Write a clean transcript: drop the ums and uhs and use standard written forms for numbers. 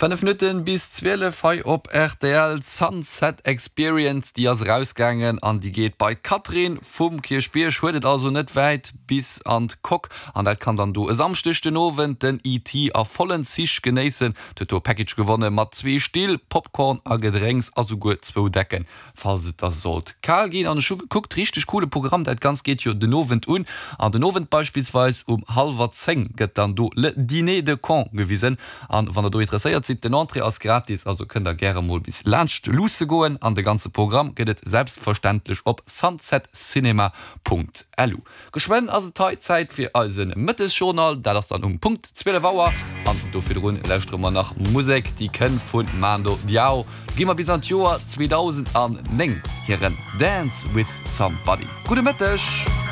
5 Minutten bis 12 hei op rtl. D'Sunset Experience, déi ass erausgaangen an déi geet bei d'Catherine vum Kierchbierg. Huet et also net wäit bis an d'Coque an dat kann dann do e Samschdeg den Owend den ET a vollen Zich genéissen. Huet do e Package gewonne mat zwee Still, Popcorn a Gedrénks a souguer zwou Decken. Falls et da sollt kal ginn. An ech hu gekuckt, richteg coole Programm, dat Ganzt geet jo den Owend un. An den Owend beispillsweis um hallwer 10 gëtt dann do Le Dîner de Cons gewisen. An wann der do interesséiert sidd, den Entrée ass gratis, also kënnt der gäre mol bis laanscht luusse goen. An de ganze Programm gëtt et selbstverständlech op sunsetcinema.lu. Geschwënn ass et hei Zäit fir eise Mëttesjournal, dat ass dann um Punkt 12 Auer. An do virdrun lauschtere mer nach Musek, déi kënnt vu Mando Diao. Do gi mer bis an d'Joer 2009, hiren Dance With Somebody. Gudde Mëtteg!